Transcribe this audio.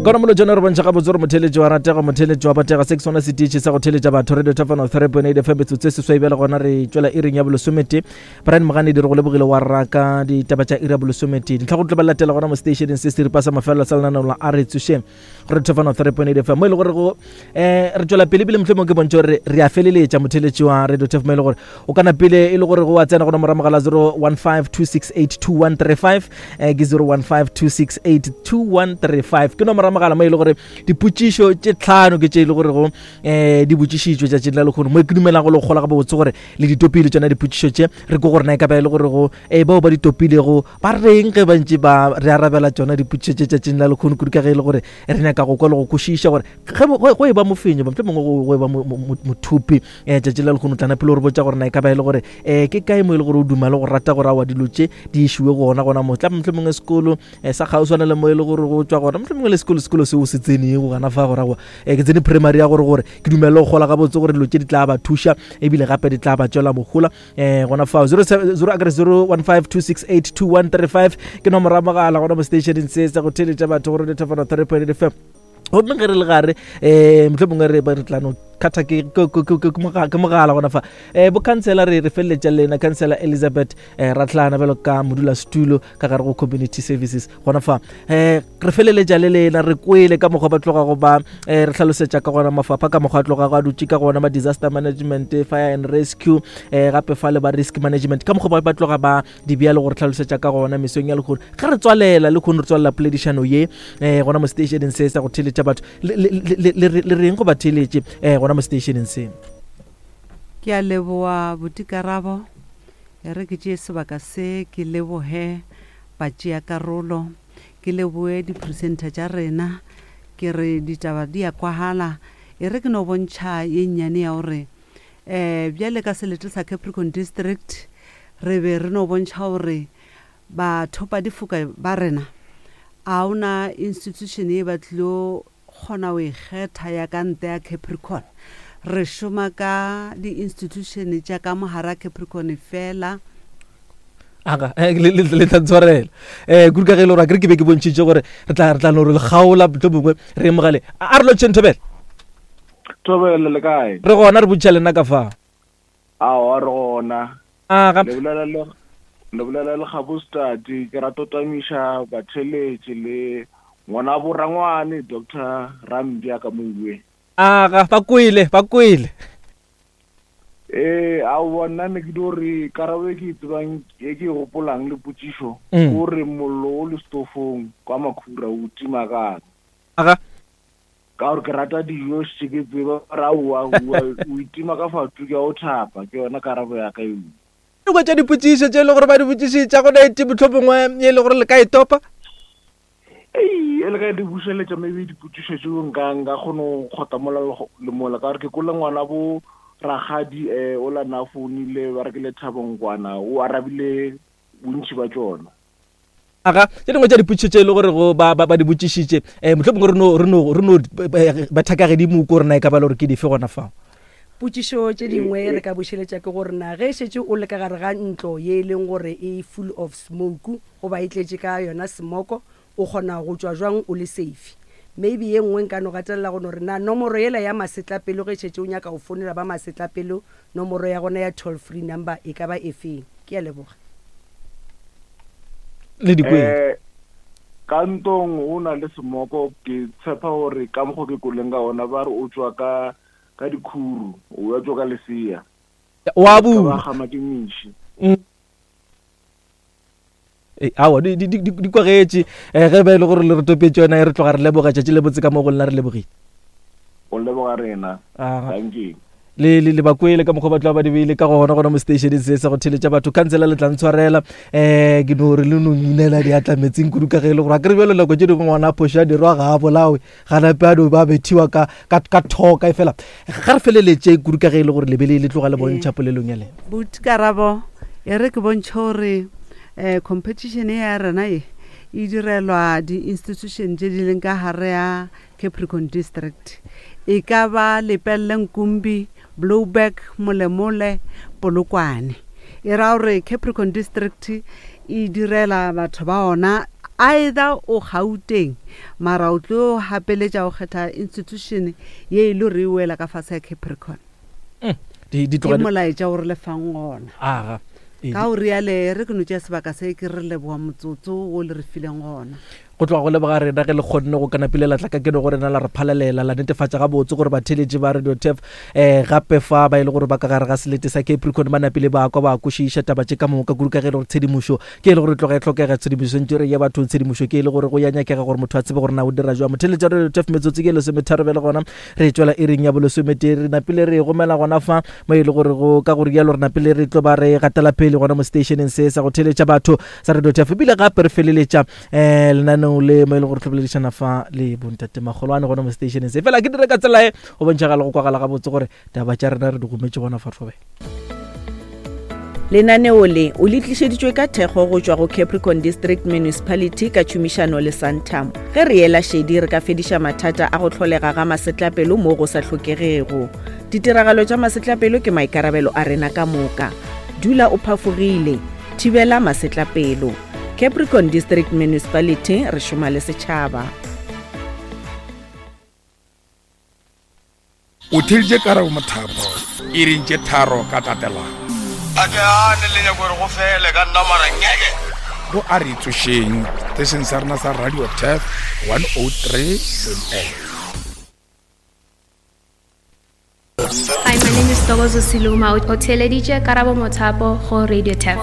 Kona molo tšona re bontšha gabotse gore motheletši wa ratega motheletši wa batega se ke sona setiši sa go theletša batho radio thafano 3.8 fm metsotso e seswai bjale gona re tšwela iring ya bolesomete brian moganedi re go lebogile wa raka ditaba tša iri ya bolesomete dintlha go tlo ba latela gona mo stationeng se seripa sa mafelelo sa lenaneo la a re tsošeng go radio thafano 3.8 fm mo e le gore go um re tšwela pele ebile mohlomong ke bontšha gore re a feleletša motheletši wa radio thafano mo e le gore o kana pele e le gore go wa tsena go nomoro mogala 0152682135 eh, ke 0152682135 ke nomoro mogala mo e le gore dipotšišo tše tlhano ke tše e le gore go um di botšišitšwe tšatšing la lekgono mo ke dumelago le gola ga botse gore le di topile tšona dipotšišo tše re ko gore na e ka ba e le gore go um bao ba di topilego ba reng ge ba ntše ba re arabela tšona dipotšišo tše tšatšing la lekgono kudu ka ge e le gore re nyaka go kwa le go kwešiša gore ge go e ba mofenyi mohlomongwe go e ba mothupi um tšatši la lekgono tlana pele o re botša gore na e ka ba e le gore um ke kae mo e le gore o duma le go rata gore awa dilo tše di išiwe gona gona mo tla mohlomongwe sekolo um sa kgauswana le mo e le gore go tšwa gona mohlomongwe le sekolo sekolo seo se tsenego gana fa gore aowa um ke tsene primary ya gore gore ke dumele go gola gabotse gore dilo tše di tla ba thuša ebile gape di tla ba tšwela mohola um gona fao 0 akere 0152682135 ke nomoro ya mogala gona mo stationeng se sa go theletša batho gore lethafana 3.8 fm gomme ge re le gare um motlho mongwe re re tlano kgatha ke mogala gona fa um bo councillor re re feleletša lena councillor elizabeth um ratlana bjalo ka modulasetulo ka gare go community services gona fa um re feleletša le lena re kwele ka mokgwa ba tlogago ba um re hlalosetša ka gona mafapha ka mokgwa a tlogago a dutše ka gona ba disaster management fire and rescue um gape fa le ba risk management ka mokgwa ba tloga ba di bea le go re hlalosetša ka gona mesong ya lekgono ge re tswalela le kgono re tswalela poledišano ye um gona mo stationeng se sa go theletša batho le reng go ba theletše um gona mo stationeng se? Ke a leboa botikarabo. E re ke tšee sebaka se ke leboge batšeakarolo, ke leboe dipresenter tša rena, ke re ditaba di a kwagala. E re ke no bontšha ye nnyane ya gore um bjale ka selete sa Capricorn District re be re no bontšha gore bathopadifoka ba rena a o na institution ye ba tlilo kgona go e kgetha ya ka ntle ya Capricorn. Re šoma ka di-institution tša ka mo gare ga Capricorn fela. Aga, eh, le le- le tla ntshwarela um kudu ka ge e le gore akere ke be ke bontšhitše gore re tla re tla no re le kgaola mohlomongwe re ye mogale a a re lotšheng thobela. Thobela le kae? Re gona re botšiša lena ka fa. Aowa re gona. Aga. Le bolela le le bolela le Gabostati ke rata go tamiša batheletši le ngwana bo rangwane Doctor Rambja ka Moue. Aga, ba kwele, ba kwele. Ee, aowa nna ne ke dio re karabo e ke e tsebang e ke e gopolang le potšišo ke gore mollo o le stofong kwa makhura o tima kang. Aga. Ka gore ke rata dijo šetše ke tseba gore aowa oa o itima ka fatu ke a o thapa, ke yona karabo ya ka eo. Dingwe tša dipotšišo tše e le gore ba di botšišitša go na ete mohlomongwe ye e le gore le ka e topa? Ei, e le ka di bušeletša maybe dipotšišo tšeo nka nka kgona go kgota mola le mola ka gore ke kwele ngwana bo rakgadi um ola na founile ba re ke Lethabo Nkwana o arabile bontši ba tšona. Aga, tše dingwe tša dipotšišo tše e le gore go ba, ba, ba di botšišitše, um mohlomongwe re no, re no, re no eh, betha ka gedimo ko rena e ka ba le gore ke dife gona fao. Potšišo tše dingwe re ka bušeletša ke gore na ge šetše o le ka gare ga ntlo ye e leng gore e full of smoke goba e tletše ka yona smoko o kgona go tšwa jwang o le safe? Maybe ye nngwe nka no gatelela go no re na nomoro yela ya masetlapelo ge šetše o nyaka go founela ba masetlapelo nomoro ya gona ya toll free number e ka ba efeng? Ke a leboga. Le di kwele. Eh, ka ntong o na le semoko ke tshepa gore ka mokgo ke kweleng ka gona ba re o tšwa ka ka dikhuru o ya tšwa ka lesea Wa ka ba bula. gama ke meši. Ee, aowa di, di, di, di kwagetše um ge ba e le gore le re topetše yona e re tloga re leboga tšatši le botse ka mo go lena re lebogile. O leboga rena. Aga. Dankie. Le, le, le ba kwele ka mokgwa ba tloga ba di beile ka gona gona mo stationeng se sa go theletša batho khansela le tla ntshwarela um ke no re le no inela diatla metsing kudu ka ge e le gore a kere bjalo nako tše dingwe ngwana a phoša a dirwa ga a bolawe ga nape a no ba bethiwa ka, ka, ka thoka e fela ga re feleletše kudu ka ge e le gore lebe le le tloga le bontšha polelong ya lena. Buti Karabo, e re ke bontšhe gore um competition ye ya rena ye e direlwa di-institution tše di leng ka gare ya Capricorn District. E ka ba Lepelle Nkumbi, Blouberg, Molemole, Polokwane. E ra gore Capricorn District e direla batho ba ona. Either o Gauteng mara o tlo gapeletša go kgetha institution ye e le gore e wela ka fase ya Capricorn. Mm, di, di Ke tloga di, molaetša o re le fang gona. aga. Ee, Ka go riale re ke no tšea sebaka se ke re leboga motsotso wo le re fileng gona. Go tloga go leboga rena ge le kgonne go kanapile la tla ka keno go rena la re phalalela la netefatša gabotse gore batheeletši ba Radio Turf um gape fa ba e le gore ba ka gare ga selete sa Capricorn ba napile ba kwa ba kwešiša taba tše ka moka kudu ka ge e le gore tshedimošo ke e le gore e tloga e hlokega tshedimošo ntše re ye bathong tshedimošo ke e le gore go ya nyakega gore motho a tsebe gore na o dira jwang. Motheeletši wa Radio Turf metsotso ke e lesometharo bjale gona re tšwela iring ya bolesometee re napile re e gomela gona fa mo e le gore go ka go rialo re napile re tlo ba re gatela pele gona mo stationeng se sa go theeletša batho sa Radio Turf ebile gape re feleletša um lenaneo le mo e le gore tlhoboledišana fa le bontate magolwane gona mo stationeng se fela ke dire ka tsela e go bontšhagala go kwagala gabotse gore taba tša rena re di gometše gona fa thobela. Lenaneo le o le tlišeditšwe ka thekgo go tšwa go Capricorn District Municipality ka tšhomišano le Santam. Ge re ela šedi re ka fediša mathata a go hlolega ga masetlapelo mo go sa hlokegego. Ditiragalo tša masetlapelo ke maikarabelo a rena ka moka. Dula o phafogile. Thibela masetlapelo. Capricorn District Municipality, re šoma le setšhaba. O theeditše Karabo Mothapo iring tše tharo ka tatelano. A ke gane le nyako gore go fele ka nna mara ngeke. Go a re tsošeng seteisheng sa rena sa Radio Turf 103.8. Hi, my name is Togozo Siluma. O theeleditše Karabo Mothapo go Radio Turf.